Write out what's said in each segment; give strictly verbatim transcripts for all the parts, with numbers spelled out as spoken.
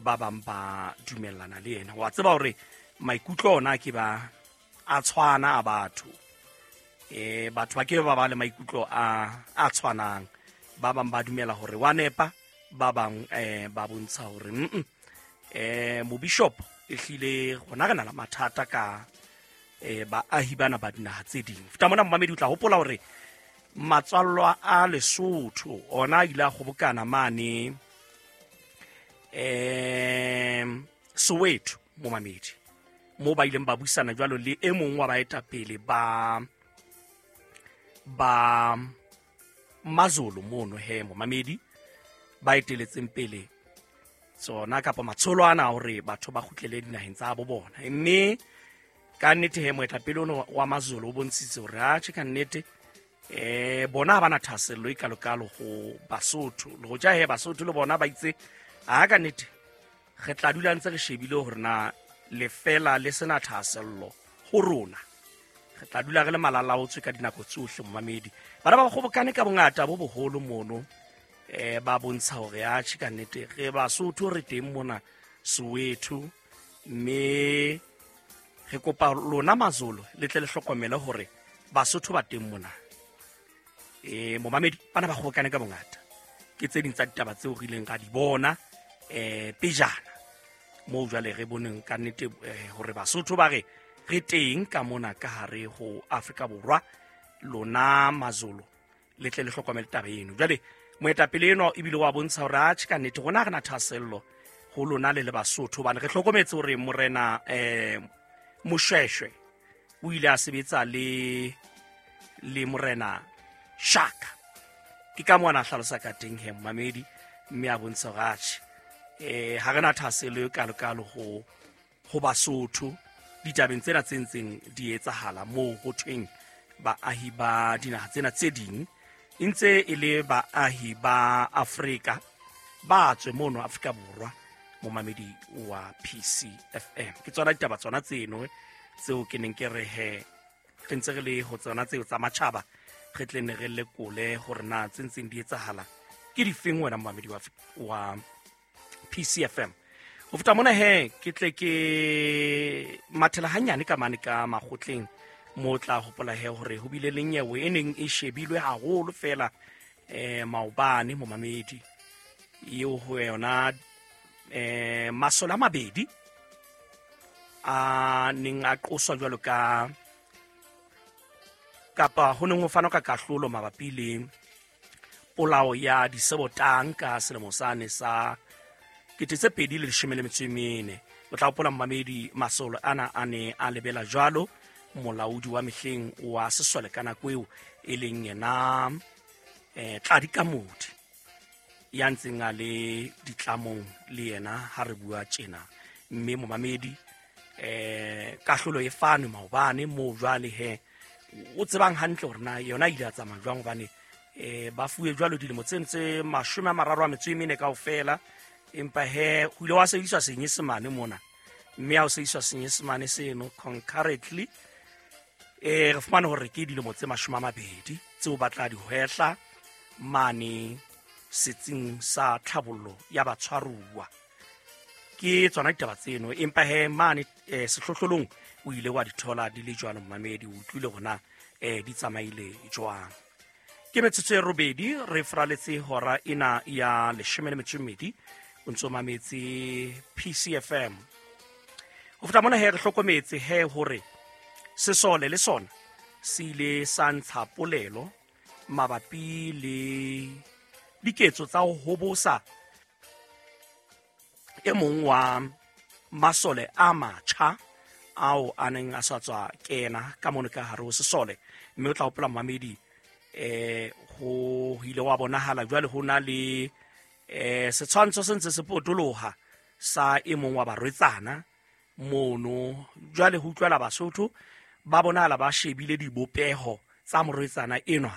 Ba bang ba dumellana le yena. Wa tseba hore maikutlo ona ke ba a tshwana a batho. Eh batho ba ke ba ba le maikutlo a a tshwanang. Ba bang ba dumela hore wa nepa, ba bang eh ba bontsha hore mm eh mobishop ehlile rona re na le mathata ka eh baahi bana ba dinaha tse ding. Feta mona momamedi o tla hopola hore matswallwa a Lesotho ona a ile a kgobokana mane eh Soweto momamedi, mo ba ileng ba buisana jwalo le e mong wa baetapele ba ba Mazulu mono he momamedi, ba eteletseng pele tsona kapa matsholo ana hore batho ba kgutlele dinaheng tsa bo bona. Mme ka nnete he moetapele ono wa Mazulu o bontshitse hore atjhe ka nnete eh bona ha bana thahasello e kalokalo ho Basotho. Le hoja he Basotho le bona ba itse ha ka nnete re tla dula ntse re shebile hore na lefela le sena thahasello ho rona, re tla dula re le malalaotswe ka dinako tsohle momamedi. Bana ba kgobokane ka bongata bo boholo mono eh ba bontsha hore atjhe ka nnete re Basotho re teng mona Soweto, mme re kopa lona Mazulu le tle le hlokomele hore Basotho ba teng mona. Eh momamedi bana ba kgobokane ka bongata ke tse ding tsa ditaba tseo re ileng ra di bona eh pejana moo jwale re boneng ka nnete hore Basotho ba re re teng ka mona ka hare ho Afrika Borwa, lona Mazulu le tle le hlokomele taba eno. Jwale moetapele eno ebile wa bontsha hore atjhe ka nnete rona re na thahasello ho lona le le Basotho, hobane re hlokometse hore morena eh Moshweshwe o ile a sebetsa le le morena Shaka. Ke ka moo a hlalosa ka teng he momamedi, mme a bontsha hore atjhe eh ha re na thahasello e kalokalo ho ho Basotho ditabeng tsena tse ntseng di etsahala moo ho thweng baahi ba dinaha tsena tse ding e ntse e le baahi ba Afrika ba tswe mono Afrika Borwa. Momamedi wa P C F M, ke tsona ditaba tsona tseno tseo ke neng ke re he re ntse re le ho tsona tseo tsa matjhaba, re tle ne re lekole hore na tse ntseng di etsahala ke difeng wena momamedi wa wa P C F M. Ho feta mona he ke tle ke mathela hanyane ka mane ka makgotleng mo tla hopola he hore ho bile le nyewe e neng e shebilwe haholo fela eh maobane momamedi, eo ho yona eh masole a mabedi a neng a qoswa jwalo ka kapa ho neng ho fanwa ka kahlolo mabapi le polao ya Disebotang ka selemo sane sa kete tse pedi le leshome le metso e mene. O tla hopola momamedi masole ana a ne a lebela jwalo molaodi wa mehleng wa sesole ka nako eo e leng yena eh Tladi Kamodi ya ntseng a le ditlamong le yena ha re bua tjena. Mme momamedi eh kahlolo e fanwe maobane moo jwale he o tsebang hantle hore na yona ile a tsamaya jwang, hobane eh ba fuwe jwalo dilemo tse ntse mashome a mararo a metso e mene kaofela, empa he ho ile wa sebediswa senyesemane mona, mme ha o sebediswa senyesemane seno concurrently eh re fumane hore ke dilemo tse mashome a mabedi tseo ba tla di hwehla mane setsing sa tlhabollo ya batshwaruwa. Ke tsona ditaba tseno, empa he mane eh, sehlohlolong o ile wa di thola di le jwalo momamedi, o utlwile hore eh di tsamaile jwang. Ke metsotso e robedi re fraletse hora ena ya leshome le metso e mmedi, o ntso mametse P C F M. Ho feta mona he re hlokometse he hore sesole le sona se ile sa ntsha polelo mabapi le diketso tsa ho hobosa e mong wa masole a matjha ao a neng a sa tswa kena ka mono ka hare ho sesole. Mme o tla hopola momamedi eh ho ile wa bonahala jwale ho na le eh setshwantsho se ntse se potoloha sa e mong wa barwetsana mono. Jwale ho utlwela Basotho ba bonahala ba shebile dibopeho tsa morwetsana enwa.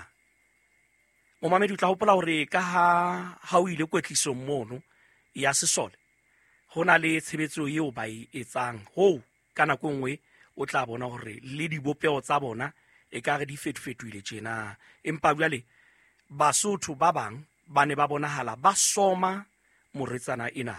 Momamedi o tla hopola hore ka ha ha o ile kwetlisong mono ya sesole ho na le tshebetso eo ba e etsang ho ka nako nngwe o tla bona hore le dibopeho tsa bona e ka re di fetofetohile tjena. Empa jwale Basotho ba bang ba ne ba bonahala ba soma morwetsana ena.